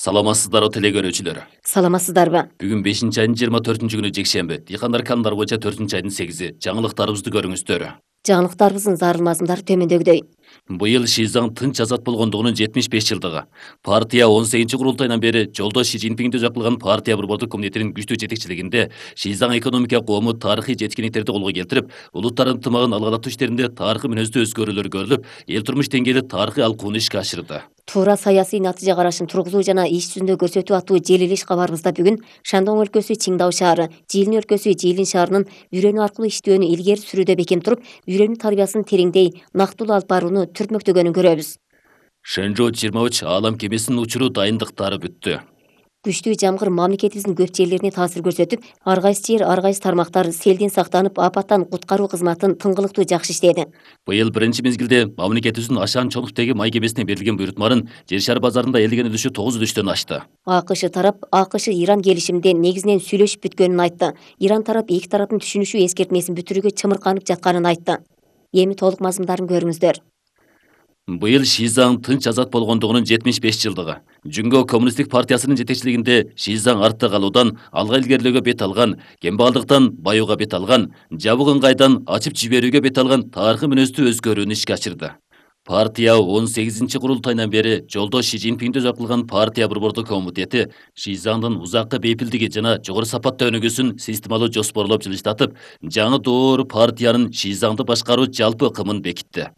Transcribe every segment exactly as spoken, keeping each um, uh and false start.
Саламатсыздарбы теле көрүүчүлөр. Саламатсыздарбы? Бүгүн бешинчи айдын жыйырма төртүнчү күнү жекшемби. Дыйкандар кандар боюнча төртүнчү айдын сегизи. Жаңылыктарыбызды көрүңүздөр. Жаңылыктарыбыздын зарыл мазмундары төмөндөгүдөй. Быйыл Шизаң тынч азат болгондугунун жетимиш беш жылдыгы. Партия он сегизинчи курултайынан бери жолдош Си Цзиньпиңди өзөккылган партия борбордук комитетинин күчтүү жетекчилигинде Шизаң экономика коому тарыхый жеткиндиктерди колго келтирип, улуттар ынтымагын алгылатуу иштеринде тарыхый мүнөздүү өзгөрүүлөр көрүлүп, эл турмуш деңгээлде тарыхый алкууну ишке ашырды. Туура саясий натыйжа карашын тургузуу жана иш жүзүндө көрсөтүү аттуу желилиш кабарыбызда бүгүн Шандон өлкөсү Чиңдау шаары, Жиилин өлкөсү Жиилин шаарынын үйрөнүү аркылуу иштөөнү илгери сүрүүдө бекем туруп, үйрөнүү тарбиясын тереңдей, нактылуу алып барууну түртмөктөгөнүн көрөбүз. Шэнжоу жыйырма үч аалам кемесинин учуруу дайындыктары бүттү. Күчтүү жамгыр мамлекетибиздин көп жерлерине таасир көрсөтүп, ар кайсы жер, ар кайсы тармактар селден сактанып, апаттан куткаруу кызматын тыңгылыктуу жакшы иштеди. Быйыл биринчи мезгилде мамлекетибиздин Ашан чоңдуктеги май кемесине берилген буйрутманын жер шары базарында элдеген үлүшү тогуз үлүштөн ашты. АКШ тарап АКШ Иран келишиминде негизинен сүйлөшүп бүткөнүн айтты. Иран тарап эки тараптын түшүнүшүү эскертмесин бүтүрүүгө чымырканып жатканын айтты. Эми толук мазмундарын көрүңүздөр. Быйыл Шизаң тынч азат болгондугунун жетимиш беш жылдыгы. Жүнгө коммунисттик партиясынын жетекчилигинде Шизаң артта калуудан алга илгерилөөгө бет алган, кембагалдыктан баюуга бет алган, жабык ыңгайдан ачып жиберүүгө бет алган тарыхый мүнөздүү өзгөрүүнү ишке ашырды. Партия он сегизинчи курултайынан бери жолдош Си Цзиньпиңди өзөккылган партия борбордук комитети Шизаңдын узакка бейпилдиги жана жогору сапаттуу өнүгүүсүн системалуу жоспорлоп жылыштатып, жаңы доор партиянын Шизаңды башкаруу жалпы ыкымын бекитти.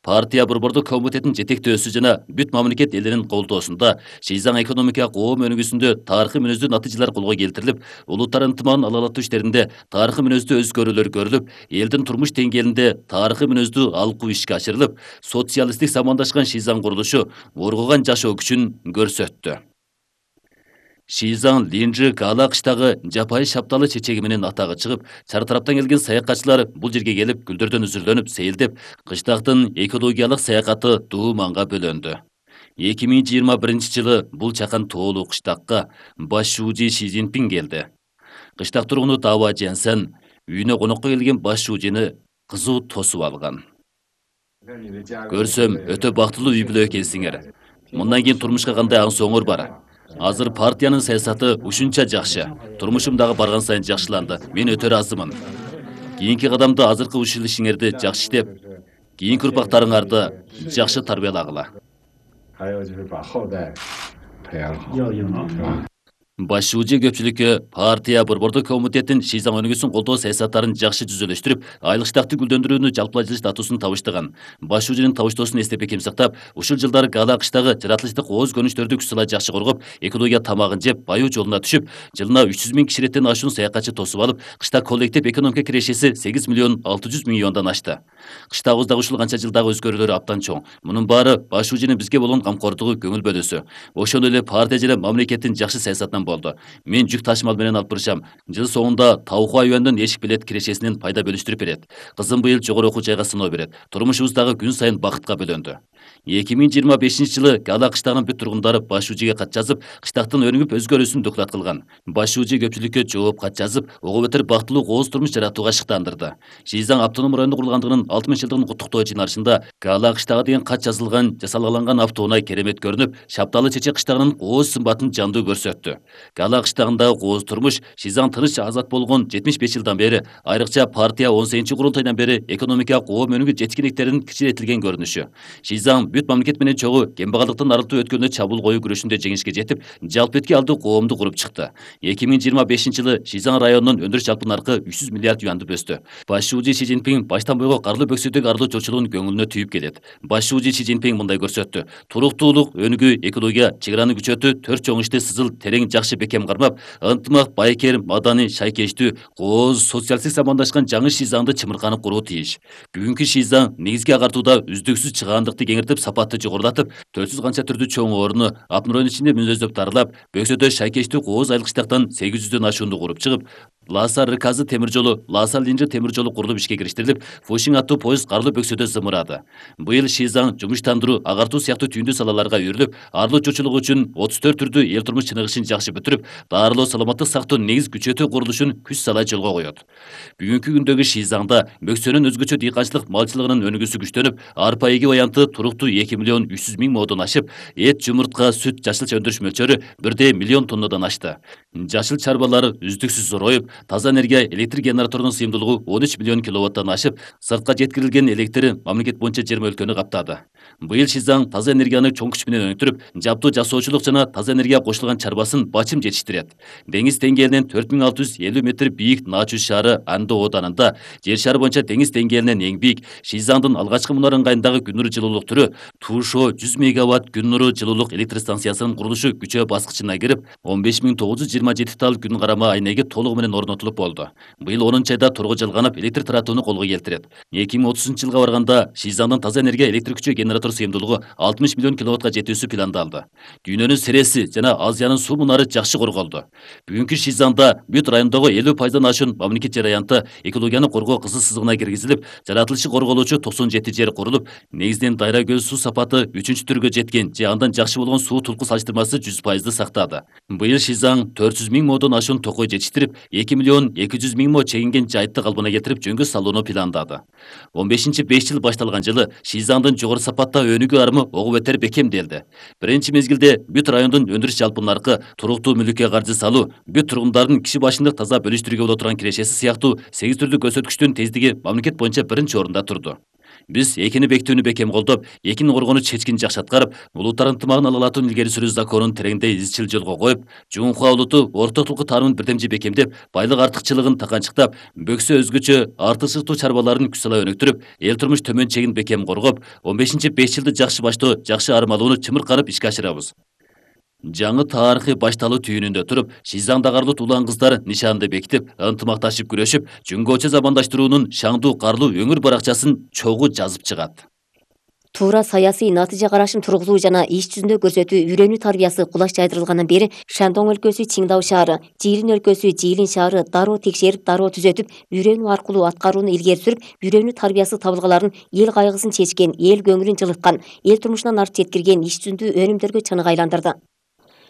Партия борбордук комитетинин жетектөөсү жана бүт мамлекет элинин колдоосунда Шизаң экономика коом өнүгүүсүндө тарыхый мүнөздүү натыйжалар колго келтирилип, улуттар ынтымагын алгылатуу иштеринде тарыхый мүнөздүү өзгөрүүлөр көрүлүп, элдин турмуш деңгээлинде тарыхый мүнөздүү алкуу ишке ашырылып, социалисттик самандашкан Шизаң курулушу оргуган жашоо күчүн көрсөттү. Шизаң Линжи Гала кыштагы жапайы шапталы чечеги менен атагы чыгып, чар тараптан келген саякатчылар бул жерге келип, гүлдөрдөн үзүрлөнүп, сейилдеп, кыштактын экологиялык саякаты дууманга бөлөндү. эки миң жыйырма биринчи жылы бул чакан тоолуу кыштакка баш шүүжи Си Цзиньпиң келди. Кыштак тургуну Дава Жэнсэн үйүнө конокко келген баш шүүжини кызуу тосуп алган. Көрсөм, өтө бактылуу үй бүлө экенсиңер. Мындан кийин турмушка кандай аң соңур бар? Азыр партиянын саясаты ушунча жакшы. Турмушум дагы барган сайын жакшыланды. Мен өтө ыраазымын. Кийинки кадамда азыркы ушул ишиңерди жакшы иштеп, кийинки урпактарыңарды жакшы тарбиялагыла. Баш шүүжи көпчүлүккө партия борбордук комитетин Шизаң өнүгүүсүн колдоо саясаттарын жакшы жүзөлөштүрүп, айлык штакты гүлдөндүрүүнү жалпылай жылыш датуусун табыштаган. Баш шүүжүнүн табыштоосун эстеп бекем сактап, ушул жылдары Гала кыштагы жаратылыштык ооз көнүштөрдү күч-сала жакшы коргоп, экология тамагын жеп, баюу жолуна түшүп, жылына үч жүз миң кишилеттен ашуун саякатчы тосуп алып, кышта коллектив экономика кирешеси сегиз миллион алты жүз миллиондон ашты. Кыштагыбыздагы ушул канча жылдагы өзгөрүүлөр аптан чоң. Мунун баары баш шүүжүнүн бизге болгон камкордугу, көңүл бөлүүсү. Ошондой эле партия жана мамлекеттин жакшы саясатынан болду. Мен жүк ташымал менен алып барышам. Жыл соңунда Тавуку айвандын эшик билет кирешесинин пайда бөлүштүрүп берет. Кызым быйыл жогору окуу жайга сыноо берет. Турмушубуздагы күн сайын бакытка бөлөндү. эки миң жыйырма бешинчи жылы Гала кыштагынын бүт тургундары баш шүүжүгө кат жазып, кыштактын өнүгүп өзгөрүүсүн доклад кылган. Баш шүүжү көпчүлүккө жооп кат жазып, ого бетер бактылуу кооз турмуш жаратууга шыктандырды. Шизаң автоном районунда курулгандыгынын алтымыш жылдыгын куттуктоо жыйналышында Гала кыштагы деген кат жазылган, жасалгаланган автоунай керемет көрүнүп, шапталы чечек кыштагынын кооз сымбатын жандуу көрсөттү. Гала кыштагындагы кооз турмуш Шизаң тыныч азат болгон жетимиш беш жылдан бери, айрыкча партия он сегизинчи курултайынан бери экономика коом өнүгүү жеткиндиктеринин кичиретилген көрүнүшү. Шизаң бүт мамлекет менен чогуу кембагалдыктан арылтуу өткөндө чабуул коюу күрөшүндө жеңишке жетип, жалпы алдуу коомду куруп чыкты. эки миң жыйырма бешинчи жылы Шизаң районунун өндүрүш жалпы наркы үч жүз миллиард юанды өстү. Баш шүүжи Си Цзиньпиң баштан бойго карлы бөксөйдөгү арылуу жолчулугун көңүлүнө түйүп келет. Баш шүүжи Си Цзиньпиң мындай көрсөттү. Туруктуулук, өнүгүү, экология, чек-араны күчөтүү, төрт чоң ишти сызыл терең жакшы бекем кармап, ынтымак, байкер, маданий, шайкечтүү, кооз, социалисттик самандашкан жаңы Шизаңды чымырканып куруу тийиш. Бүгүнкү Шизаң негизги агартууда үздүксүз чыгаандыкты кеңиртип, сапатты жогорулатып, төрт жүз канча түрдүү чоң орну, Апнуройдун ичинде мүнөздөп дарылап, бөксөдө шайкечтүү кооз айылкыштактан сегиз жүздөн ашуунду куруп чыгып, Лааса Рыказы темир жолу, Лааса Линжи темир жолу курулуп ишке кириштирилип, Фушин аттуу поезд карлуу бөксөдө зымырады. Быйыл Шизаң жумуштандыруу, агартуу сыяктуу түйүндүү салаларга үйрүлүп, арлуу журчулук үчүн отуз төрт түрдүү эл турмуш чыныгышын жакшы бүтүрүп, даарылоо саламаттык сактоо негиз күчөтүү курулушун күч сала жолго коет. Бүгүнкү күндөгү Шизаңда бөксөнүн өзгөчө дыйканчылык малчылыгынын өнүгүүсү күчтөнүп, арпа эги аянты туруктуу эки миллион үч жүз миң модон ашып, эт, жумуртка, сүт, жашылча өндүрүш мөлчөрү бирде миллион тоннадан ашты. Жашыл чарбалар үздүксүз зороюп, таза энергия электр генераторунун сыйымдуулугу он үч миллион киловаттан ашып, сыртка жеткирилген электр мамлекет боюнча жыйырма өлкөнү каптады. Быйыл Шизаң таза энергияны чоң күч менен өнүктүрүп, жаптуу жасоочулук жана таза энергия кошулган чарбасын бачым жетиштирет. Деңиз деңгээлинен төрт миң алты жүз элүү метр бийик Начуз шаары Андо ооданында, жер шары боюнча деңиз деңгээлинен эң бийик Шизаңдын алгачкы мунар ыңгайындагы күн нуру жылуулук түрү Тушо жүз мегаватт күн нуру жылуулук электр станциясынын курулушу күчөө баскычына кирип, он беш миң тогуз жүз жыйырма жети тал күн карама айнеги толугу менен орнотулуп болду. Быйыл онунчу айда Торго жалганып электр таратууну колго келтирет. эки миң отузунчу жылга барганда Шизаңдын таза энергия электр күчү генератор сыйымдуулугу алтымыш миллион киловаттка жетүүсү пландалды. Дүйнөнүн сереси жана Азиянын суу мунары жакшы корголду. Бүгүнкү Шизаңда бүт райондогу элүү пайыздан ашуун мамлекет жер аянты экологияны коргоо кызыл сызыгына киргизилип, жаратылышы корголуучу токсон жети жер курулуп, негизинен Дайра көл суу сапаты үчүнчү түргө жеткен же андан жакшы болгон суу тулку салыштырмасы жүз пайызды сактады. Быйыл Шизаң төрт жүз миң модон ашуун токой жетиштирип, эки миллион эки жүз миң мо чегинген жайтты калпына келтирип жөнгө салууну пландады. он бешинчи беш жыл башталган жылы Шизаңдын жогору сапатта өнүгүү армы ого бетер бекемделди. Биринчи мезгилде бүт райондун өндүрүш жалпы наркы, туруктуу мүлүккө каржы салуу, бүт тургундардын киши башындык таза бөлүштүрүүгө боло турган кирешеси сыяктуу сегиз түрдүү көрсөткүчтүн тездиги мамлекет боюнча биринчи орунда турду. Биз экини бекитүүнү бекем колдоп, экини коргоону чечкин жакшаткарып, улуттар ынтымагын алгылатууну илгери сүрүү законун тереңдей изчил жолго коюп, Жуунхуа улуту орто тулку таанымын бирдемчи бекемдеп, байлык артыкчылыгын таканчыктап, бөксө өзгөчө артыкчылыктуу чарбаларын күч сала өнүктүрүп, эл турмуш төмөн чегин бекем коргоп, он бешинчи беш жылды жакшы баштоо, жакшы армалоону чымырканып ишке ашырабыз. Жаңы тарыхый башталуу түйүнүндө туруп, Шизаңдагы арлуу улан кыздар нишанды бекитип, ынтымакташып күрөшүп, жөнгөчө замандаштыруунун шаңдуу карлуу өңүр баракчасын чогуу жазып чыгат. Туура саясий натыйжа карашын тургузуу жана иш жүзүндө көрсөтүү үйрөнүү тарбиясы кулаш жайдырылгандан бери Шандон өлкөсү Чиңдау шаары, Жиилин өлкөсү Жиилин шаары дароо текшерип, дароо түзөтүп, үйрөнүү аркылуу аткарууну илгери сүрүп, үйрөнүү тарбиясы табылгаларын эл кайгысын чечкен, эл көңүлүн жылыткан, эл турмушунан арт жеткирген иш жүзүндүү өнүмдөргө чыныгы айландырды.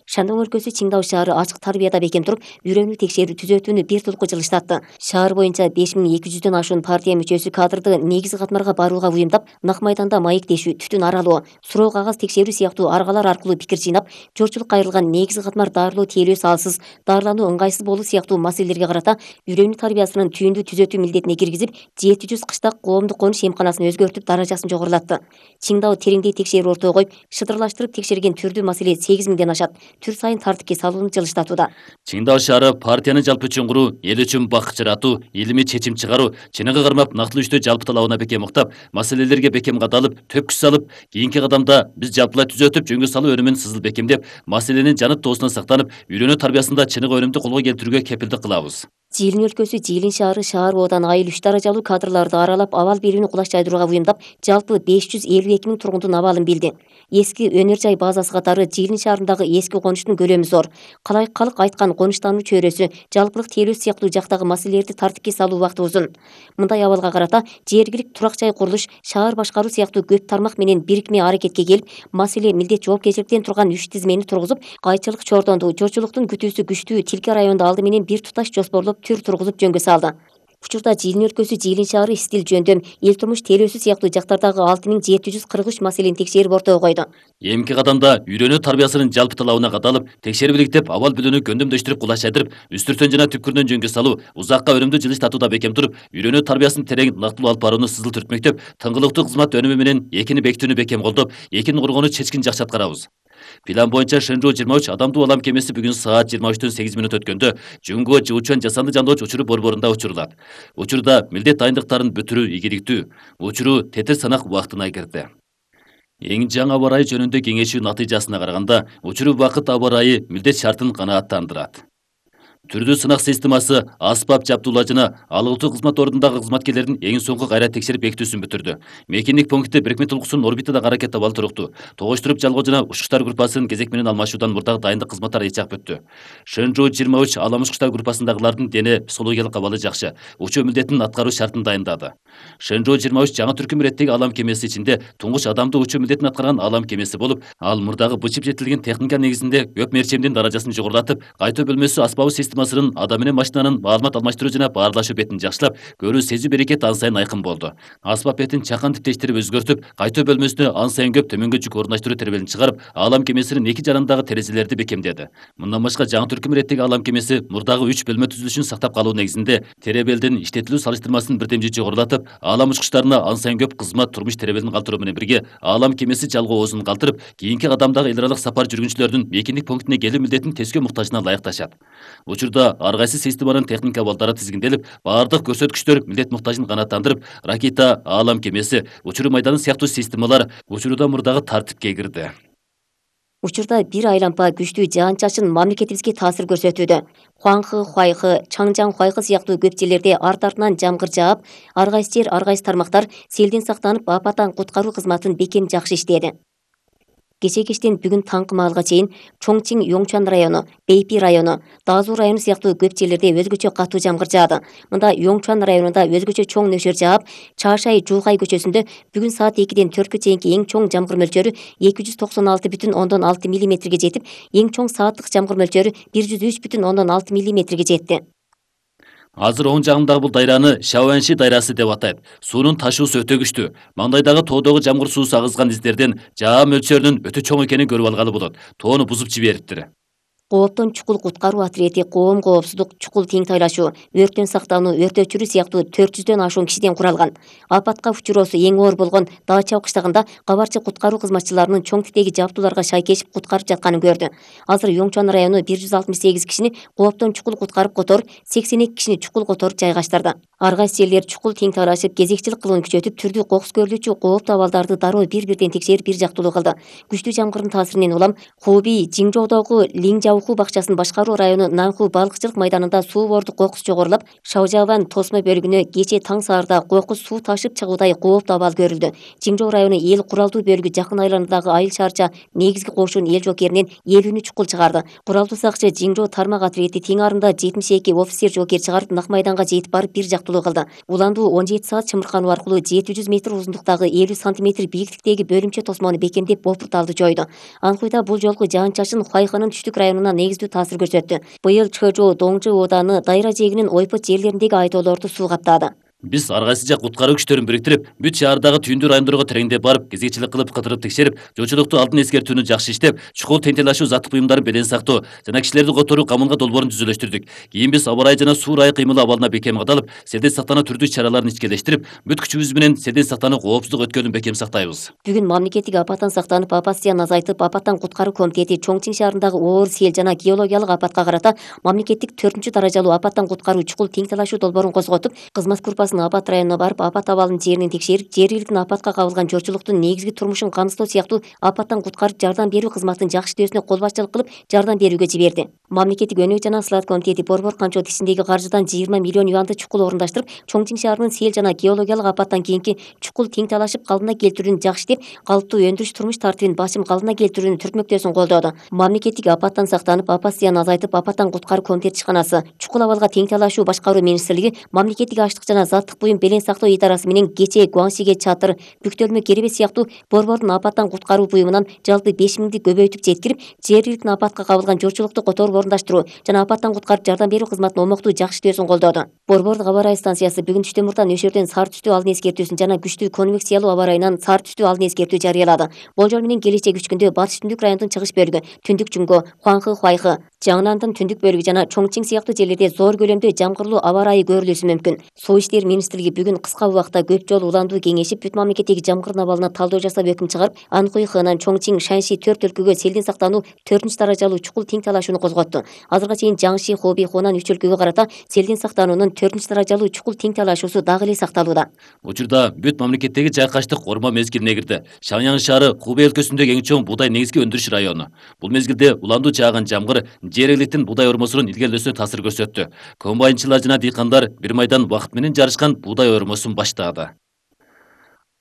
Шандон өлкөсү Чиңдау шаары ачык тарбияда бекем туруп, үйрөнүү текшерүү түзөтүүнү бир толку жылыштатты. Шаар боюнча беш миң эки жүздөн ашуун партия мүчөсү кадрды негизги катмарга барууга буюмдап, нак майданда маектешүү, түтүн аралоо, суроо кагаз текшерүү сыяктуу аргалар аркылуу пикир жыйнап, журчулук кайрылган негизги катмар даарылоо тейлөө салсыз, дарылануу ыңгайсыз болуу сыяктуу маселелерге карата үйрөнүү тарбиясынын түйүндүү түзөтүү милдетине киргизип, жети жүз кыштак коомдук конуш эмканасын өзгөртүп, даражасын жогорулатты. Чиңдау тереңдей текшерүү ортого коюп, шыдырлаштырып текшерген түрдүү маселе сегиз миңден ашат. Түр сайын тартипке салууну жылыштатууда. Чиңдау шаары партияны жалпы үчүн куруу, эл үчүн бак жаратуу, илимий чечим чыгаруу, чыныгы кармап нактылуу иштөө жалпы талабына бекем уктап, маселелерге бекем кадалып, төп күч салып, кийинки кадамда биз жалпылай түзөтүп, жөнгө салуу өнүмүн сызыл бекемдеп, маселенин жаныт тоосунан сактанып, үйрөнүү тарбиясында чыныгы өнүмдү колго келтирүүгө кепилдик кылабыз. Жиилин өлкөсү Жиилин шаары шаар оодан айыл үч даражалуу кадрларды аралап, абал берүүнү кулаш жайдырууга буюмдап, жалпы беш жүз элүү эки миң тургундун абалын билди. Эски өнөр жай базасы катары Жиилин шаарындагы эски конуштун көлөмү зор. Калай калык айткан конуштануу чөйрөсү, жалпылык тейлөө сыяктуу жактагы маселелерди тартипке салуу убакыты узун. Мындай абалга карата жергиликтүү турак жай курулуш, шаар башкаруу сыяктуу көп тармак менен бирикме аракетке келип, маселе милдет жоопкерчиликтен турган үч тизмени тургузуп, кайчылык чордонду, журчулуктун күтүүсү күчтүү Тилке районунда алды менен бир туташ жоспорлоп түр тургузуп жөнгө салды. Учурда Жиилин өлкөсү Жиилин шаары стил жөндөм, эл турмуш тейлөөсү сыяктуу жактардагы алты миң жети жүз кырк үч маселени текшерип ортого койду. Эмки кадамда үйрөнүү тарбиясынын жалпы талабына кадалып, текшерип иликтеп, абал билүүнү көндөмдөштүрүп кулаш жайдырып, үстүртөн жана түпкүрүнөн жөнгө салуу, узакка өнүмдүү жылыштатууда бекем туруп, үйрөнүү тарбиясын терең нактылуу алып барууну сызыл түртмөктөп, тыңгылыктуу кызмат өнүмү менен экини бекитүүнү бекем колдоп, экини коргоону чечкин жакшаткарабыз. План боюнча Шенжу жыйырма үч адамдуу улам кемеси бүгүн саат жыйырма үчтөн сегиз мүнөт өткөндө Жунго Жуучан жасанды жандооч учуру борборунда учурулат. Учурда милдет дайындыктарын бүтүрүү ийгиликтүү, учуру тетир санак убактына кирди. Эң жаңы аба ырайы жөнүндө кеңешүү натыйжасына караганда, учуру убакыт аба ырайы милдет шартын канааттандырат. Түрдүү сынак системасы аспап жабдуулар жана алгылтуу кызмат ордундагы кызматкерлердин эң соңку кайра текшерип бекитүүсүн бүтүрдү. Мекендик пунктте Бирикме Толкусунун орбитадагы аракет абалы туруктуу. Тогуштуруп жалгоо жана учкучтар группасынын кезек менен алмашуудан мурдагы дайындык кызматтары эч жак бүттү. Шенжу жыйырма үч алам учкучтар группасындагылардын дене психологиялык абалы жакшы. Учуу милдетин аткаруу шартын дайындады. Шенжу жыйырма үч жаңы түркүм иреттеги алам кемеси ичинде туңгуч адамдуу учуу милдетин аткарган алам кемеси болуп, ал мурдагы бычып жетилген техника негизинде көп мерчемдин даражасын жогорулатып, кайтуу бөлмөсү аспабы системасынын адам менен машинанын маалымат алмаштыруу жана баарлашуу бетин жакшылап, көрүү сезүү берекети ан сайын айкын болду. Аспап бетин чакан типтештирип өзгөртүп, кайтуу бөлмөсүнө ан сайын көп төмөнгө жүк орундаштыруу тербелин чыгарып, алам кемесинин эки жарандагы терезелерди бекемдеди. Мындан башка жаңы түркүм иреттеги алам кемеси мурдагы үч бөлмө түзүлүшүн сактап калуу негизинде теребелдин иштетилүү салыштырмасын бирдемжи жогорулатып, алам учкучтарына ан сайын көп кызмат турмуш теребелин калтыруу менен бирге алам кемеси жалгоо оозун калтырып, кийинки кадамдагы эл аралык сапар жүргүнчүлөрдүн мекендик пунктине келүү милдетин тескөө муктажына ылайыкташат. Учурда ар кайсы системанын техника абалдары тизгинделип, баардык көрсөткүчтөр милдет муктажын канааттандырып, ракета, алам кемеси, учуруу майданы сыяктуу системалар учурда мурдагы тартипке кирди. Учурда бир айлампа күчтүү жаан-чачын мамлекетибизге таасир көрсөтүүдө. Хуаңхы, Хуайхы, Чаңжаң, Хуайхы сыяктуу көп жерлерде арт артынан жамгыр жаап, ар кайсы жер, ар кайсы тармактар селден сактанып, апаттан куткаруу кызматын бекем жакшы иштеди. Кече кештен бүгүн таңкы маалга чейин Чоңчиң Йоңчан району, Бейпи району, Дазу району сыяктуу көп жерлерде өзгөчө катуу жамгыр жаады. Мында Йоңчан районунда өзгөчө чоң нөшөр жаап, Чаашай Жуукай көчөсүндө бүгүн саат экиден төрткө чейинки эң чоң жамгыр мөлчөрү эки жүз токсон алты бүтүн ондон алты миллиметрге жетип, эң чоң сааттык жамгыр мөлчөрү бир жүз үч бүтүн ондон алты миллиметрге жетти. Азыр оң жагымдагы бул дайраны Шауанши дайрасы деп атайт. Суунун ташуусу өтө күчтүү. Маңдайдагы тоодогу жамгыр суусу агызган издерден жаа мөлчөрүнүн өтө чоң экенин көрүп алгалы болот. Тоону бузуп жибериптир. Кооптон чукул куткаруу отряди, коом коопсуздук, чукул теңтайлашуу, өрттөн сактануу, өртөөчүлөр сыяктуу төрт жүздөн ашуун кишиден куралган. Апатка учуроосу эң оор болгон Даачау кыштагында кабарчы куткаруу кызматчыларынын чоң типтеги жабдууларга шайкешип куткарып жатканын көрдү. Азыр Йоңчан району бир жүз алтымыш сегиз кишини кооптон чукул куткарып которуп, сексен эки кишини чукул которуп жайгаштырды. Ар кайсы жерлер чукул теңтайлашып, кезекчилик кылуун күчөтүп, түрдүү кокус көрүлүүчү кооптуу абалдарды дароо бир-бирден текшерип, бир жактуулуу кылды. Күчтүү жамгырдын таасиринен улам Хуби, Жиңжоодогу Лиңжауху бакчасын башкаруу району Нанху балыкчылык майданында суу борду кокус жогорулап, Шаожаван тосмо бөлүгүнө кече таң саарда кокус суу ташып чыгуудай кооптуу абал көрүлдү. Жиңжоо району эл куралдуу бөлүгү жакын айланадагы Айыл шаарча негизги кошун эл жокеринен элүүнү чукул чыгарды. Куралдуу сакчы Жиңжоо тармак отряди тең арында жетимиш эки офицер жокер чыгарып, нак майданга жетип барып бир жактуулуу кылды. Уландуу он жети саат чымыркануу аркылуу жети жүз метр узундуктагы элүү сантиметр бийиктиктеги бөлүмчө тосмону бекемдеп, бопурталды жойду. Анкуйда бул жолку жаан-чачын Хуайхынын түштүк районуна негиздүү таасир көрсөттү. Быйыл Чжэжу, Доңжы ооданы дайра жээгинин ойпот жерлериндеги айдоолорду суу каптады. Биз ар кайсы жак куткаруу күчтөрүн бириктирип, бүт шаардагы түйүндүү райондорго тереңдеп барып, кезекчилик кылып, кыдырып текшерип, жоочулукту алдын эскертүүнү жакшы иштеп, чукул теңтелашуу заттык буюмдарын белен сактоо жана кишилерди которуу камынга долбоорун түзүлүштүрдүк. Кийин биз аба ырайы жана суу ырайы кыймылы абалына бекем кадалып, селден сактануу түрдүү чараларын ичкелештирип, бүт күчүбүз менен селден сактануу коопсуздук өткөлүн бекем сактайбыз. Бүгүн мамлекеттик апаттан сактанып, апат зыянын азайтып, апаттан куткаруу комитети Чоңчиң шаарындагы оор сел жана геологиялык апатка карата мамлекеттик төртүнчү даражалуу апаттан куткаруу чукул теңтелашуу долбоорун козготуп, кызмат группасынын апат районуна барып, апат абалынын жеринин текшерип, жергиликтин апатка кабылган жоочулуктун негизги турмушун камсыздоо сыяктуу апаттан куткарып жардам берүү кызматынын жакшы иштөөсүнө кол башчылык кылып, жардам берүүгө жиберди. Мамлекеттик өнөк жана сылат комитети Борбор канчоот ичиндеги каржыдан жыйырма миллион юанды чукул орундаштырып, Чоңчиң шаарынын сел жана геологиялык апаттан кийинки чукул теңтайлашып калыбына келтирүүнү жакшы иштеп, калыптуу өндүрүш турмуш тартибин басым калыбына келтирүүнүн түртмөктөөсүн колдоду. Мамлекеттик апаттан сактанып, апат зыянын азайтып, апаттан куткаруу комитет ишканасы, чукул абалга теңтайлашуу башкаруу министрлиги, мамлекеттик аштык жана заттык буюм белең сактоо идарасы менен кече Гуаңшиге чатыр, Бүктөлмө керебет сыяктуу борбордун апаттан куткаруу буюмунан жалпы беш миңди көбөйтүп жеткирип, жергиликтин апатка кабылган жоочулукту которуп орундаштыруу жана апаттан куткарып жардам берүү кызматынын омоктуу жакшы иштөөсүн колдоду. Борбордук аба ырайы станциясы бүгүн түштөн мурда нөшөрдөн сары түстүү алдын эскертүүсүн жана күчтүү конвекциялуу аба ырайынан сары түстүү алдын эскертүү жарыялады. Болжол менен келечек үч күндө батыш түндүк райондун чыгыш бөлүгү, түндүк Чуңго, Хуаңхы, Хуайхы, Жаңнандын түндүк бөлүгү жана Чоңчиң сыяктуу жерлерде зор көлөмдүү жамгырлуу аба ырайы көрүлүшү мүмкүн. Суу иштери министрлиги бүгүн кыска убакытта көп жолу уландуу кеңешип бүт мамлекеттеги жамгырдын абалына талдоо жасап өкүм чыгарып, Анхуй, Хэнан, Чоңчиң, Шаньши төрт өлкөгө селден сактануу төртүнчү даражалуу чукул тең талашууну козготту. Азыркыга чейин Жаңши, Хоби, Хунан үч өлкөгө карата селден сактануунун төртүнчү даражалуу чукул тең талашуусу дагы эле сакталууда. Учурда бүт мамлекеттеги жайкаштык ормо мезгилине кирди. Шаңяң шаары Хубей өлкөсүндөгү эң чоң буудай негизги өндүрүш району. Бул мезгилде уландуу жааган жамгыр жергиликтин буудай ормосунун илгерилөөсүнө таасир көрсөттү. Комбайнчылар жана дыйкандар бир майдан убакыт менен жарышкан буудай ормосун баштаады.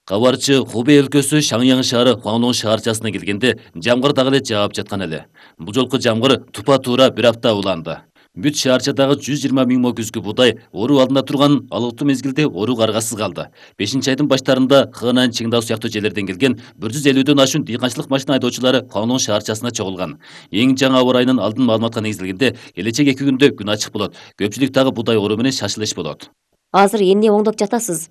Кабарчы Хубей өлкөсү Шаңяң шаары Хуанлоң шаарчасына келгенде жамгыр дагы эле жаап жаткан эле. Бул жолку жамгыр тупа туура бир апта уланды. Бүт шаарчадагы жүз жыйырма миң мо күзгү буудай оруу алдында турган алыктуу мезгилде оруу каргасыз калды. бешинчи айдын баштарында Хэнан, Чиңдау сыяктуу жерлерден келген бир жүз элүүдөн ашуун дыйканчылык машина айдоочулары Хуанлоң шаарчасына чогулган. Эң жаңы аба ырайынын алдын маалыматка негизделгенде келечек эки күндө күн ачык болот. Көпчүлүк дагы буудай оруу менен шашылыш болот. Азыр эмне оңдоп жатасыз?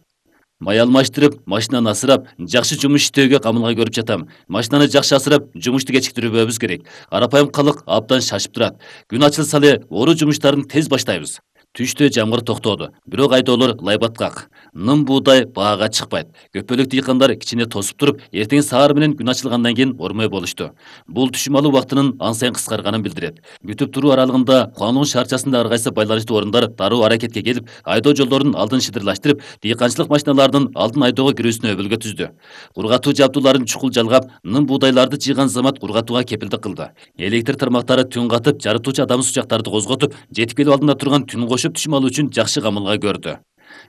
Май алмаштырып, машинаны асырап, жакшы жумуш иштөөгө камылга көрүп жатам. Машинаны жакшы асырап, жумушту кечиктирбөөбүз керек. Арапайым калык абдан шашып турат. Күн ачылса эле оруу жумуштарын тез баштайбыз. Түштө жамгыр токтоду, бирок айдоолор лайбаткак. Ным буудай баага чыкпайт. Көпөлүк дыйкандар кичине тосуп туруп, эртең саар менен күн ачылгандан кийин ормой болушту. Бул түшүм алуу убактынын ан сайын кыскарганын билдирет. Күтүп туруу аралыгында Хуанлоң шаарчасында ар кайсы байланыштуу орундар дароо аракетке келип, айдоо жолдорунун алдын шыдырлаштырып, дыйканчылык машиналарынын алдын айдоого кирүүсүнө өбөлгө түздү. Кургатуу жабдууларын чукул жалгап, ным буудайларды жыйган замат кургатууга кепилдик кылды. Электр тармактары түн катып, жарытуучу адамсыз учактарды козготуп, жетип келүү алдында турган түн кошуп түшүм алуу үчүн жакшы камылга көрдү.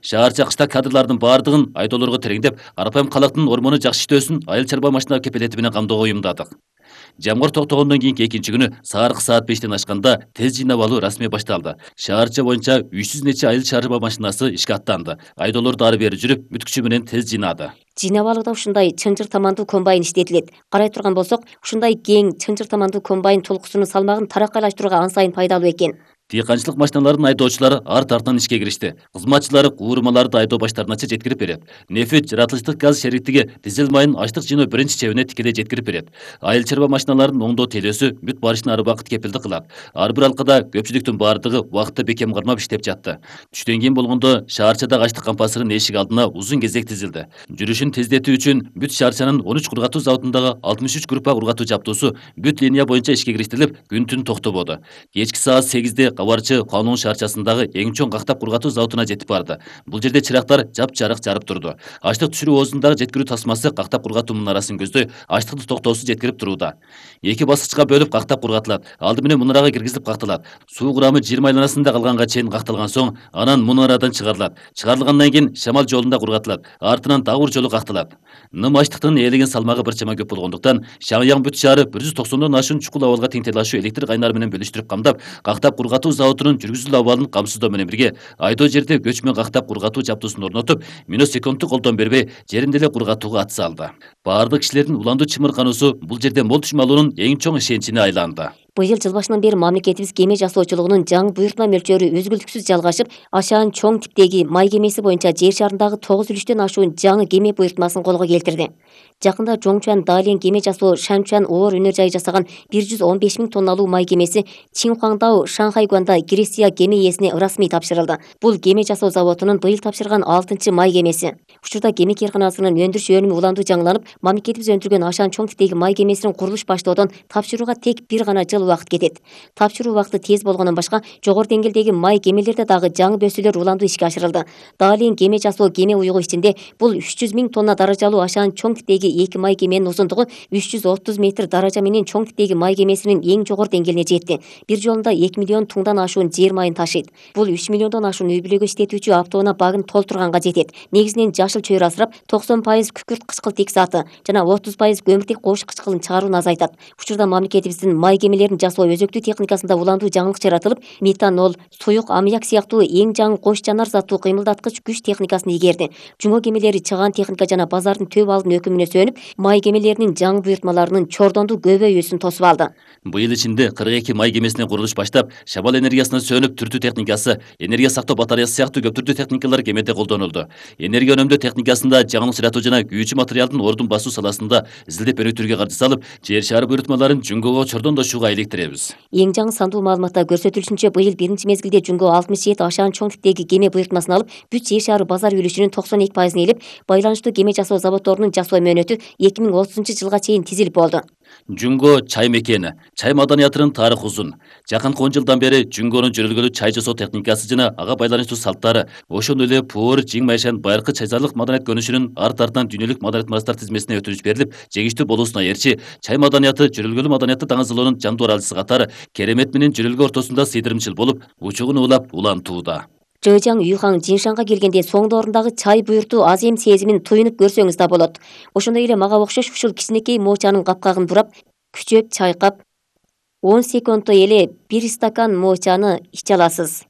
Шаар чакышта кадрлардын баардыгын айдоолорго тереңдеп, арапайым калыктын ормону жакшы иштөөсүн айыл чарба машина кепилети менен камдоого уюмдадык. Жамгыр токтогондон кийинки экинчи күнү сааркы саат бештен ашканда тез жыйнап алуу расмий башталды. Шаарча боюнча үч жүз нече айыл чарба машинасы ишке аттанды. Айдоолор ары бери жүрүп, бүт күчү менен тез жыйнады. Жыйнап алууда ушундай чынжыр тамандуу комбайн иштетилет. Карай турган болсок, ушундай кең чынжыр тамандуу комбайн толкусунун салмагын тараккайлаштырууга ан сайын пайдалуу экен. Дыйканчылык машиналарынын айдоочулары арт артынан ишке киришти. Кызматчылары куурмаларды айдоо баштарынача жеткирип берет. Нефть, жаратылыштык газ шериктиги дизель майын аштык жыйноо биринчи чебине тикелей жеткирип берет. Айыл чарба машиналарынын оңдоо телөөсү бүт барышына ар убакыт кепилдик кылат. Ар бир алкада көпчүлүктүн баардыгы убакытты бекем кармап иштеп жатты. Түштөн кийин болгондо шаарчадагы аштык кампасынын эшик алдына узун кезек тизилди. Жүрүшүн тездетүү үчүн бүт шаарчанын он үч кургатуу заводундагы алтымыш үч группа кургатуу жабдуусу бүт линия боюнча ишке кириштирилип, күн түн токтободу. Кечки саат сегизде кабарчы Хуанлоң шаарчасындагы эң чоң кактап кургатуу заводуна жетип барды. Бул жерде чырактар жап-жарык жарып турду. Аштык түшүрүү оозундагы жеткирүү тасмасы кактап кургатуу мунарасын көздөй аштыкты токтоосуз жеткирип турууда. Эки баскычка бөлүп кактап кургатылат. Алды менен мунарага киргизилип какталат. Суу курамы жыйырма айланасында калганга чейин какталган соң, анан мунарадан чыгарылат. Чыгарылгандан кийин шамал жолунда кургатылат. Артынан дагы бир жолу какталат. Ным аштыктын ээлеген салмагы бир чама көп болгондуктан, Шаңяң бүт шаары бир жүз токсондон ашуун чукул абалга тең талашуу электр кайнары менен бөлүштүрүп камдап, кактап кургатуу заводунун жүргүзүлүү абалын камсыздоо менен бирге айдоо жерде көчмө кактап кургатуу жабдуусун орнотуп, минут секундтук колдон бербей, жеринде эле кургатууга ат салды. Баардык кишилердин уландуу чымыркануусу бул жерде мол түшүм алуунун эң чоң ишеничине айланды. Быйыл жыл башынан бери мамлекетибиз кеме жасоочулугунун жаңы буйртма мөлчөрү үзгүлтүксүз жалгашып, Ашаан чоң типтеги май кемеси боюнча жер шарындагы тогуз үлүштөн ашуун жаңы кеме буйртмасын колго келтирди. Жакында Жоңчуан Далиен кеме жасоо Шанчуан оор өнөр жайы жасаган бир жүз он беш миң тонналуу май кемеси Чинхуаңдау Шанхайгуанда Гресия кеме ээсине ырасмий тапшырылды. Бул кеме жасоо заводунун быйыл тапшырган алтынчы май кемеси. Учурда кеме кээрканасынын өндүрүш өнүмү уландуу жаңыланып, мамлекетибиз өндүргөн Ашаан чоң типтеги май кемесинин курулуш баштоодон тапшырууга тек бир гана жыл убакыт кетет. Тапшыруу убакыты тез болгондон башка, жогору деңгээлдеги май кемелерде дагы жаңы бөсөлөр уландуу ишке ашырылды. Далиен кеме жасоо кеме уюгу ичинде бул үч жүз миң тонна даражалуу Ашаан чоң типтеги эки май кеменин узундугу үч жүз отуз метр даража менен чоң типтеги май кемесинин эң жогору деңгээлине жетти. Бир жолунда эки миллион туңдан ашуун жер майын ташыйт. Бул үч миллиондон ашуун үй бүлөгө иштетүүчү автоунаа багын толтурганга жетет. Негизинен жашыл чөйрө асырап, токсон пайыз күкүрт кычкылтек заты жана отуз пайыз көмүртек кош кычкылын чыгарууну азайтат. Учурда мамлекетибиздин май кемелерин жасоо өзөктүү техникасында уландуу жаңылык жаратылып, метанол, суюк аммиак сыяктуу эң жаңы кош жанар заттуу кыймылдаткыч күч техникасын игерди. Жумо кемелери чыгаан техника жана базардын төп алдын өкүмүнө сөнүп, май кемелеринин жаңы буйртмаларынын чордондуу көбөйүүсүн тосуп алды. Быйыл ичинде кырк эки май кемесине курулуш баштап, шамал энергиясына сөнүп түртүү техникасы, энергия сактоо батареясы сыяктуу көп түрдүү техникалар кемеде колдонулду. Энергия өнөмдөө техникасында жаңылык жаратуу жана күйүүчү материалдын ордун басуу саласында изилдеп өнүктүүгө каржы салып, жер шары буйртмаларын жүнгөгө чордондошууга иликтиребиз. Эң жаңы сандуу маалыматта көрсөтүлүшүнчө, быйыл биринчи мезгилде Жүнгө алтымыш жети ашаан чоңдуктагы кеме буйртмасын алып, бүт жер шаары базар үлүшүнүн токсон эки пайызын ээлеп, байланыштуу кеме жасоо заводдорунун жасоо мөөнөтү эки миң отузунчу жылга чейин тизилип болду. Жүнгө чай мекени, чай маданиятынын тарыхы узун. Жакынкы он жылдан бери Жүнгөнүн жөрөлгөлүү чай жасоо техникасы жана ага байланыштуу салттары, ошондой эле пур, жиң майшан байыркы чайзарлык маданият көрүнүшүнүн арт-артынан дүйнөлүк маданият мурастар тизмесине өтүнүч берилип, жегиштүү болуусуна ээрчи, чай маданияты жөрөлгөлүү маданиятты даңазалоонун жандуу аралчысы катары керемет менен жөрөлгө ортосунда сыйдырымчыл болуп, учугун улап улантууда. Жыжаң Юхан Жиншанга келгенде соңдоорундагы чай буйртуу азем сезимин туюнуп көрсөңүз да болот. Ошондой эле мага окшош ушул кичинекей моочанын капкагын бурап, күчөп чайкап, он секундтой эле бир стакан моочаны иче аласыз.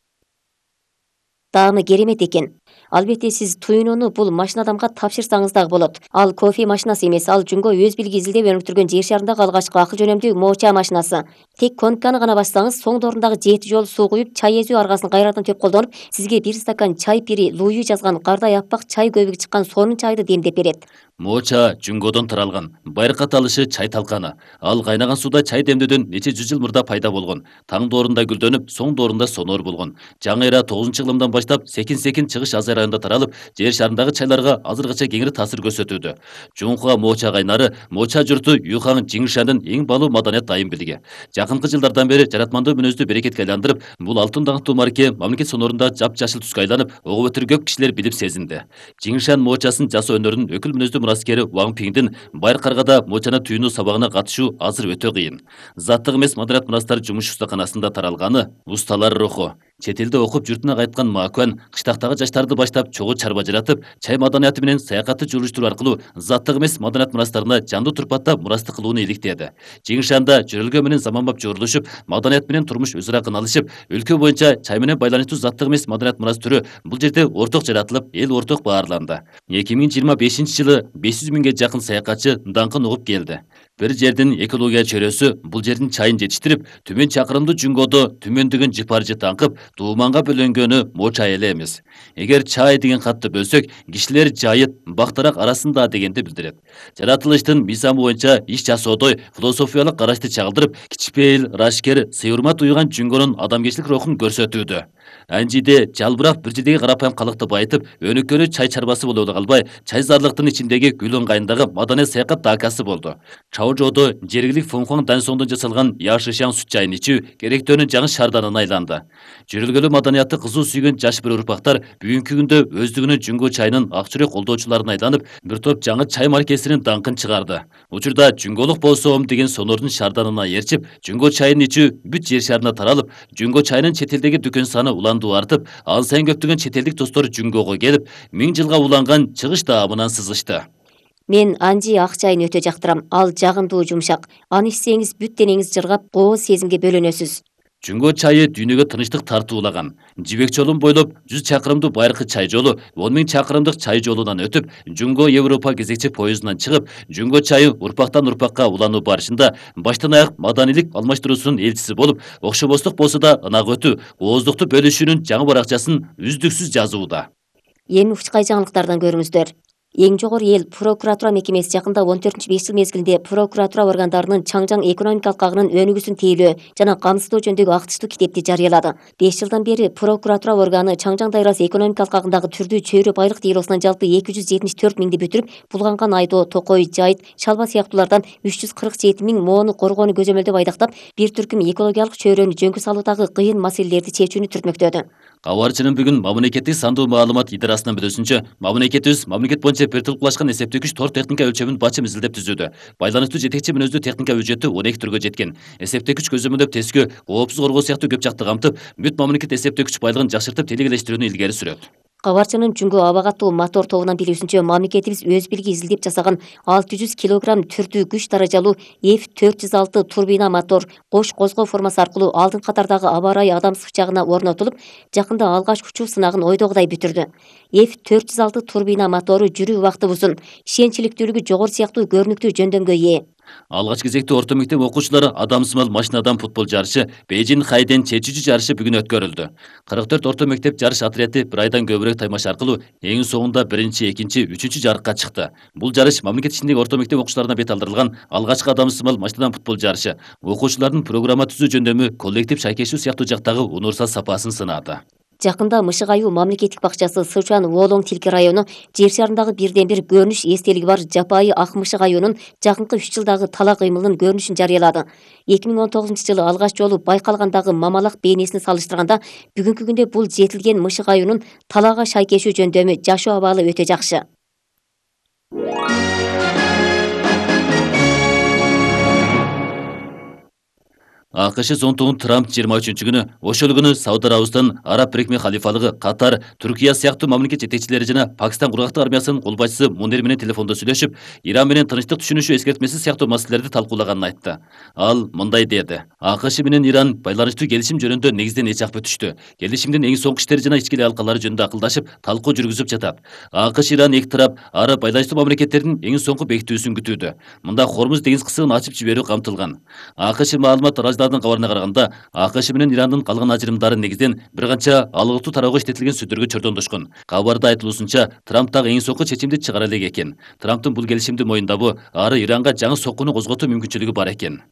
Даамы керемет экен. Албетте сиз туюнууну бул машина адамга тапшырсаңыз дагы болот. Ал кофе машинасы эмес, ал Жүнгө өз билиги изилдеп өнүктүргөн жер шарындагы алгачкы акыл жөнөмдүү мооча машинасы. Тек кнопканы гана бассаңыз, соңдоорундагы жети жолу суу куюп, чай эзүү аргасын кайрадан төп колдонуп, сизге бир стакан чай пири Луи жазган кардай аппак чай көбүгү чыккан сонун чайды демдеп берет. Мооча Жүнгөдөн таралган. Байыркы аталышы чай талканы. Ал кайнаган суда чай демдөөдөн нече жүз жыл мурда пайда болгон. Таң доорунда гүлдөнүп, соң доорунда соноор болгон. Жаңы эра тогузунчу кылымдан баштап секин-секин чыгыш Азия районунда таралып, жер шарындагы чайларга азыркыча кеңири таасир көрсөтүүдө. Жуңхуа мооча кайнары, мооча журту Юхан Жиңшандын эң баалуу маданият айым билиги. Жакынкы жылдардан бери жаратмандуу мүнөздү берекетке айландырып, бул алтын даңктуу марке мамлекет сонорунда жап-жашыл түскө айланып, ого өтөр көп кишилер билип сезинди. Жиңшан моочасын жасоо өнөрүнүн өкүл мүнөздүү мураскери Ваң Пиңдин байыр каргада моочаны түйүнүү сабагына катышуу азыр өтө кыйын. Заттык эмес маданият мурастар жумуш устаканасында таралганы, усталар руху. Чет элде окуп журтуна кайткан Макуан кыштактагы жаштарды баштап чогуу чарба жаратып, чай маданияты менен саякатты жолуштуруу аркылуу заттык эмес маданият мурастарына жандуу турпаттап мурастык кылууну иликтеди. Жиңшанда жөрөлгө менен заманбап жорулушуп, маданият менен турмуш өз ара кыналышып, өлкө боюнча чай менен байланыштуу заттык эмес маданият мурас түрү бул жерде орток жаратылып, эл орток баарланды. эки миң жыйырма бешинчи жылы беш жүз миңге жакын саякатчы даңкын угуп келди. Бир жердин экология чөйрөсү бул жердин чайын жетиштирип, түмөн чакырымдуу Жүнгөдө түмөндөгөн жыпаржы таңкып, тууманга бөлөнгөнү мооча эле эмес. Эгер чай деген катты бөлсөк, кишилер жайыт, бактарак арасында дегенди билдирет. Жаратылыштын мыйзамы боюнча иш жасоодой философиялык карашты чагылдырып, кичпейил, рашкер, сый-урмат уйган Жүнгөнүн адамгерчилик рухун көрсөтүүдө. Анжиде жалбырак бир жердеги карапайым калыкты байытып, өнөкөрү чай чарбасы болуп эле калбай, чайзарлыктын ичиндеги гүл ыңгайындагы маданият саякат дакасы болду. Чаожоодо жергилик Фунхуан Даньсондон жасалган Яшишаң сүт чайын ичүү керектөөнүн жаңы шаарданына айланды. Жөрөлгөлүү маданиятты кызуу сүйгөн жаш бір урпактар бүгүнкү күндө өздүгүнүн Жүнгө чайынын ак жүрөк колдоочуларына айланып, бир топ жаңы чай маркесинин даңкын чыгарды. Учурда Жүнгөлүк болсом деген сонордун шаарданына ээрчип, Жүнгө чайын ичүү бүт жер шарына таралып, Жүнгө чайынын чет элдеги дүкөн саны уландуу артып, ал сайын көптөгөн чет элдик достор Жүнгөгө келип, миң жылга уланган чыгыш даамынан сызышты. Мен Анжи ак чайын өтө жактырам. Ал жагымдуу, жумшак. Аны ичсеңиз бүт денеңиз жыргап, кооз сезимге бөлөнөсүз. Жүнгө чайы дүйнөгө тынычтык тартуулаган. Жибек жолун бойлоп жүз чакырымдуу байыркы чай жолу он миң чакырымдык чай жолунан өтүп, Жүнгө Европа кезекчи поездунан чыгып, Жүнгө чайы урпактан урпакка улануу барышында баштан аяк маданилик алмаштыруусунун элчиси болуп, окшобостук болсо да ынак өтүү, ооздукту бөлүшүүнүн жаңы баракчасын үздүксүз жазууда. Эми учкай жаңылыктардан көрүңүздөр. Эң жогору эл прокуратура мекемеси жакында он төртүнчү беш жыл мезгилинде прокуратура органдарынын Чаңжаң экономикалык агынын өнүгүүсүн тейлөө жана камсыздоо жөнүндөгү актыштуу китепти жарыялады. беш жылдан бери прокуратура органы Чаңжаң дайрасы экономикалык агындагы түрдүү чөйрө байлык делосунан жалпы эки жүз жетимиш төрт миңди бүтүрүп, булганган айдоо, токой, жайыт, шалба сыяктуулардан үч жүз кырк жети миң моону коргоону көзөмөлдөп айдактап, бир түркүм экологиялык чөйрөнү жөнгө салуудагы кыйын маселелерди чечүүнү түртмөктөдү. Кабарчынын бүгүн мамлекеттик сандуу маалымат идарасынын билүүсүнчө, мамлекетибиз мамлекет боюнча бир тылкуулашкан эсептегич тор техника өлчөмүн бачым изилдеп түзүүдө. Байланыштуу жетекчи мүнөздүү техника бюджети он эки түргө жеткен. Эсептегич көзөмөлдөп тескөө, коопсуз коргоо сыяктуу көп жакты камтып, бүт мамлекет эсептегич байлыгын жакшыртып телегелештирүүнү илгери сүрөт. Кабарчынын Жүнгө аба катуу мотор тобунан билүүсүнчө, мамлекетибиз өз билиги изилдеп жасаган алты жүз килограмм түрдүү күч даражалуу эф төрт жүз алты турбина мотор кош козгоо формасы аркылуу алдын катардагы аба ырайы адам сычагына орнотулуп, жакында алгач учуу сынагын ойдогудай бүтүрдү. эф төрт жүз алты турбина мотору жүрүү убакты узун, ишенчиликтүүлүгү жогору сыяктуу көрүнүктүү жөндөмгө ээ. Алгач кезекте орто мектеп окуучулары адамсымал машинадан футбол жарышы Бейжин Хайден чечүүчү жарышы бүгүн өткөрүлдү. кырк төрт орто мектеп жарыш отряды бир айдан көбүрөөк таймаш аркылуу эң соңунда биринчи, экинчи, үчүнчү жарыкка чыкты. Бул жарыш мамлекет ичиндеги орто мектеп окуучуларына бет алдырылган алгачкы адамсымал машинадан футбол жарышы. Окуучулардын программа түзүү жөндөмү, коллектив шайкешүү сыяктуу жактагы унурса сапасын сынады. Жакында Мышык айуу мамлекеттик бакчасы Сычуан Волон Тилке району жер шарындагы бирден бир көрүнүш эстелиги бар жапайы ак мышык аюунун жакынкы үч жылдагы тала кыймылынын көрүнүшүн жарыялады. эки миң он тогузунчу жылы алгач жолу байкалгандагы мамалак бейнесине салыштырганда бүгүнкү күндө бул жетилген мышык аюунун талаага шайкешүү жөндөмү, жашоо абалы өтө жакшы. АКШ зонтугун Трамп жыйырма үчүнчү күнү ошол күнү Сауд Арабистан, Араб Бирикме халифалыгы, Катар, Түркия сыяктуу мамлекет жетекчилери жана Пакистан кургактык армиясынын кол башчысы Мунир менен телефондо сүйлөшүп, Иран менен тынчтык түшүнүшү эскертмеси сыяктуу маселелерди талкуулаганын айтты. Ал мындай деди: АКШ менен Иран байланыштуу келишим жөнүндө негизден эч ак бүтүштү. Келишимдин эң соңку иштери жана ички эле алкалары жөнүндө акылдашып, талкуу жүргүзүп жатат. АКШ Иран эки тарап ара байланыштуу мамлекеттердин эң соңку бекитүүсүн күтүүдө. Мында Хормуз деңиз кысыгын ачып жиберүү камтылган. АКШ маалымат кабарына караганда, АКШ менен Ирандын калган ажырымдары негизден бир канча алгытуу тарауга иштетилген сүттөргө чордондошкон. Кабарда айтылуусунча, Трамп дагы эң соңку чечимди чыгара элек экен. Трамптын бул келишимди моюндабы ары Иранга жаңы соккуну козготуу мүмкүнчүлүгү бар экен.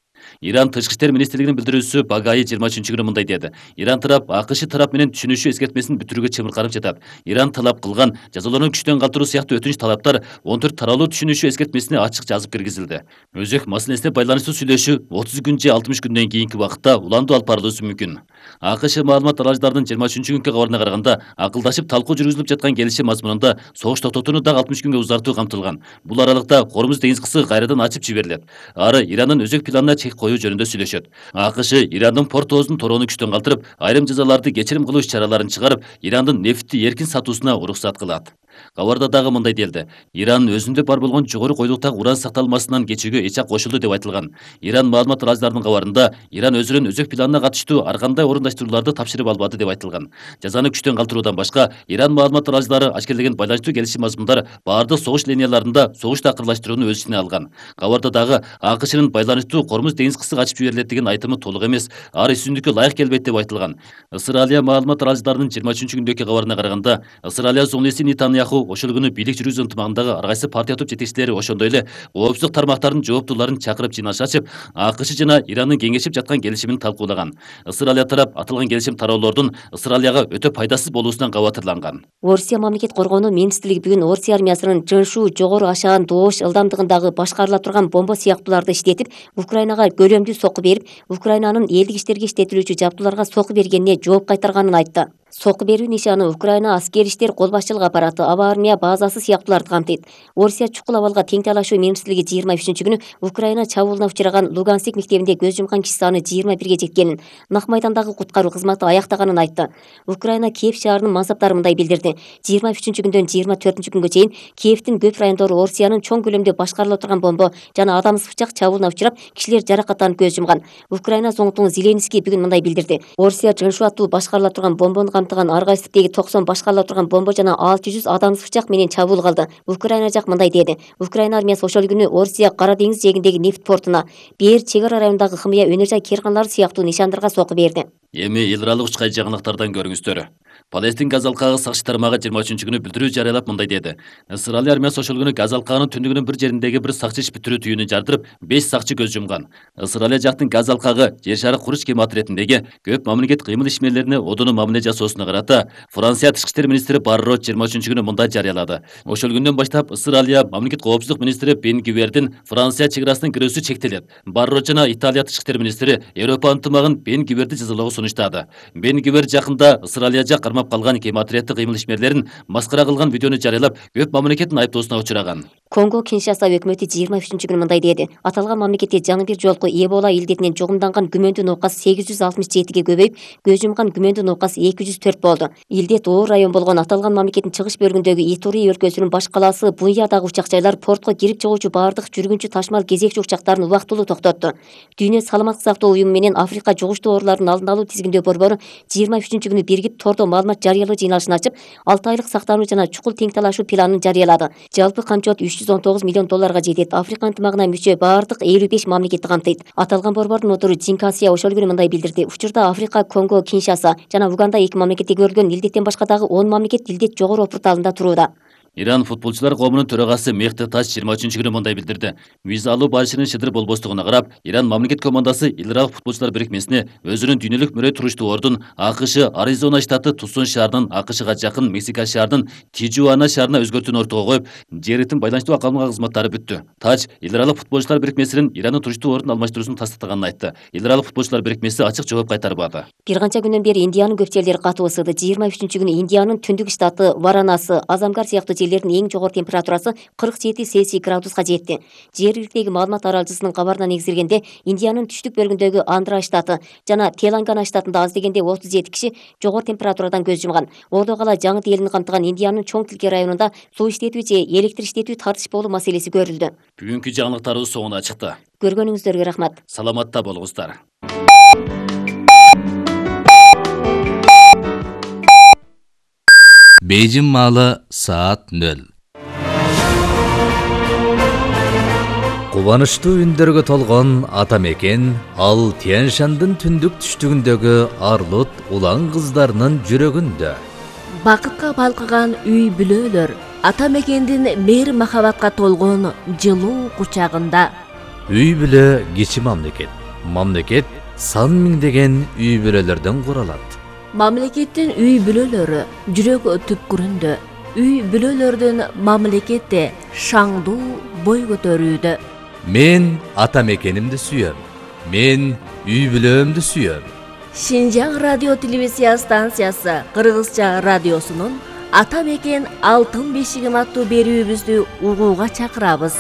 Иран тышкы иштер министрлигинин билдирүүчүсү Багаи жыйырма үчүнчү күнү мындай деди: Иран тарап АКШ тарап менен түшүнүшүү эскертмесин бүтүрүүгө чымырканып жатат. Иран талап кылган жазалоону күчтөн калтыруу сыяктуу өтүнүч талаптар он төрт тараалуу түшүнүшүү эскертмесине ачык жазып киргизилди. Өзөк маселесине байланыштуу сүйлөшүү отуз күн же алтымыш күндөн кийинки убакытта уламдуу алып барылышы мүмкүн. АКШ маалымат аралаждарынын жыйырма үчүнчү күнкү кабарына караганда, акылдашып талкуу жүргүзүлүп жаткан келишим мазмунунда согуш токтотууну дагы алтымыш күнгө узартуу камтылган. Бул аралыкта Хормуз деңиз кысыгы кайрадан ачып жиберилет. Ары Ирандын өзөк планына чек коюу жөнүндө сүйлөшөт. АКШ Ирандын Порт-Оозун torоону күчтөн калтырып, айрым жазаларды кечирим кылуу иш-чараларын чыгарып, Ирандын нефтти эркин сатуусуна уруксат кылат. Кабарда дагы мындай делди: Иран өзүндө бар болгон жогору коюлуктагы уран сакталмасынан кечүүгө эч ак кошулду деп айтылган. Иран маалымат аралаждарынын кабарында Иран өзүнүн өзөк планына катыштуу ар кандай орундаштырууларды тапшырып албады деп айтылган. Жазаны күчтөн калтыруудан башка, Иран маалымат аралаждары ашкерлеген байланыштуу келишим мазмундар баардык согуш линияларында согуш такырлаштырууну өз ичине алган. Кабарда дагы АКШнын байланыштуу Хормуз деңиз кысыгы ачып жиберилет деген айтымы толук эмес, ар үстүндүккө ылайык келбейт деп айтылган. Ысыралия маалымат аралаждарынын жыйырма үчүнчү күндөгү кабарына караганда, Ысыралия зомлеси Нетаньяху ошол күнү бийлик жүргүзүү ынтымагындагы ар кайсы партия топ жетекчилери ошондой эле коопсуздук тармактарынын жооптууларын чакырып жыйналыш ачып, АКШ жана Ирандын кеңешип жаткан келишимин талкуулаган. Ысыралия тарап аталган келишим тараолордун Ысыралияга өтө пайдасыз болуусунан кабатырланган. Орусия мамлекет коргонуу министрлиги бүгүн Орусия армиясынын Жыншу жогору ашаан доош ылдамдыгындагы башкарыла турган бомба сыяктууларды иштетип, Украинага көлөмдүү сокку берип, Украинанын элдик иштерге иштетилүүчү жабдууларга сокку бергенине жооп кайтарганын айтты. Сокку берүү нишаны Украина аскер иштер кол башчылык аппараты, аба армия базасы сыяктууларды камтыйт. Орусия чукул абалга тең талашуу министрлиги жыйырма үчүнчү күнү Украина чабуулуна учураган Луганск мектебинде көз жумган киши саны жыйырма бирге жеткенин, нак майдандагы куткаруу кызматы аяктаганын айтты. Украина Киев шаарынын мансаптары мындай билдирди: жыйырма үчүнчү күндөн жыйырма төртүнчү күнгө чейин Киевдин көп райондору Орусиянын чоң көлөмдө башкарыла турган бомба жана адамсыз бычак чабуулуна учурап, кишилер жаракаттанып көз жумган. Украина зоңтугу Зеленский бүгүн мындай билдирди: Орусия Жыншу аттуу башкарыла турган бомбону камтыган ар кайсы типтеги токсон башкарыла турган бомба жана алты жүз адамсыз бычак менен чабуул кылды. Украина жак мындай деди: Украина армиясы ошол күнү Орусия Кара деңиз жээгиндеги нефт портуна, Бээр чек ара районундагы Хымыя өнөр жай кээрканалары сыяктуу нишандарга сокку берди. Эми эл аралык учкай жаңылыктардан көрүңүздөр. Палестин газ алкагы сакчы тармагы жыйырма үчүнчү күнү билдирүү жарыялап мындай деди: Ысыралия армиясы ошол күнү газ алкагынын түндүгүнүн бир жериндеги бир сакчы иш бүтүрүү түйүнүн жардырып, беш сакчы көз жумган. Ысыралия жактын газ алкагы жер шары куруш кеме отрядындеги көп мамлекет кыймыл ишмерлерине одону мамиле жасоосуна карата Франция тышкы иштер министри Барро жыйырма үчүнчү күнү мындай жарыялады: Ошол күндөн баштап Ысыралия мамлекет коопсуздук министри Бен Гвердин Франция чек арасынан кирүүсү чектелет. Барро жана Италия тышкы иштер министри Европа ынтымагын Бен Гверди жазалоого сунуштады. Бен Гвер жакында Ысыралия жак кармап калган кеме отряды кыймыл ишмерлерин маскара кылган видеону жарыялап, көп мамлекеттин айыптоосуна учураган. Конго Киншаса өкмөтү жыйырма үчүнчү күнү мындай деди: Аталган мамлекетте жаңы бир жолку Эбола илдетинен жугумданган күмөндүү нокас сегиз жүз алтымыш жетиге көбөйүп, көз жумган күмөндүү нокас эки жүз төрт болду. Илдет оор район болгон аталган мамлекеттин чыгыш бөлүгүндөгү Итури өлкөсүнүн башкаласы Буньядагы учак-жайлар портко кирип чыгуучу баардык жүргүнчү ташмал кезекчи учактарын убактылуу токтотту. Дүйнө саламаттык сактоо уюму менен Африка жугуштуу оорулардын алдын алуу тизгиндөө борбору жыйырма үчүнчү күнү биригип тордо маалымат жарыялоо жыйналышын ачып, алты айлык сактануу жана чукул тең талашуу планын жарыялады. Жалпы камчот үч жүз он тогуз миллион долларга жетет. Африка ынтымагына мүчө баардык элүү беш мамлекетти камтыйт. Аталган борбордун отуру Джинкасия ошол күнү мындай билдирди. Учурда Африка, Конго, Киншаса жана Уганда эки мамлекетте көрүлгөн илдеттен башка дагы он мамлекет илдет жогору опурталында турууда. Иран футболчулар коомунун төрагасы Мехти Таш жыйырма үчүнчү күнү мындай билдирди. Виза алуу барышынын шыдыр болбостугуна карап, Иран мамлекет командасы эл аралык футболчулар бирикмесине өзүнүн дүйнөлүк мөрөй туруштуу ордун АКШ Аризона штаты Тусон шаарынын АКШга жакын Мексика шаарынын Тижуана шаарына өзгөртүүнү ортого коюп, жеритин байланыштуу акалмага кызматтары бүттү. Тач эл аралык футболчулар бирикмесинин Ирандын туруштуу ордун алмаштыруусун тастыктаганын айтты. Эл аралык футболчулар бирикмеси ачык жооп кайтарбады. Бир канча күндөн бери Индиянын көпчөлдөрү катуу ысыды. жыйырма үчүнчү күнү Индиянын түндүк штаты Варанасы, Азамгар сыяктуу жерлердин эң жогору температурасы кырк жети Цельсий градуска жетти. Жергиликтеги маалымат аралчысынын кабарына негизделгенде, Индиянын түштүк бөлүгүндөгү Андра штаты жана Телангана штатында аз дегенде отуз жети киши жогору температурадан көз жумган. Ордо кала жаңы элин камтыган Индиянын чоң тилке районунда суу иштетүү же электр иштетүү тартыш болуу маселеси көрүлдү. Бүгүнкү жаңылыктарыбыз соңуна чыкты. Көргөнүңүздөргө рахмат. Саламатта болуңуздар. Бейжин маалы саат нөл. Кубанычтуу үндөргө толгон ата мекен ал Тянь-Шандын түндүк түштүгүндөгү арлут улан кыздарынын жүрөгүндө. Бакытка балкыган үй бүлөлөр ата мекендин мээр махабатка толгон жылуу кучагында. Үй бүлө кичи мамлекет. Мамлекет сан миңдеген үй бүлөлөрдөн куралат. Мамлекеттин үй бүлөлөрү жүрөк түпкүрүндө. Үй бүлөлөрдүн мамлекетте шаңдуу бой көтөрүүдө. Мен ата мекенимди сүйөм. Мен үй бүлөөмдү сүйөм. Шинжаң радио телевизия станциясы Кыргызча радиосунун Ата мекен алтын бешигим аттуу берүүбүздү угууга чакырабыз.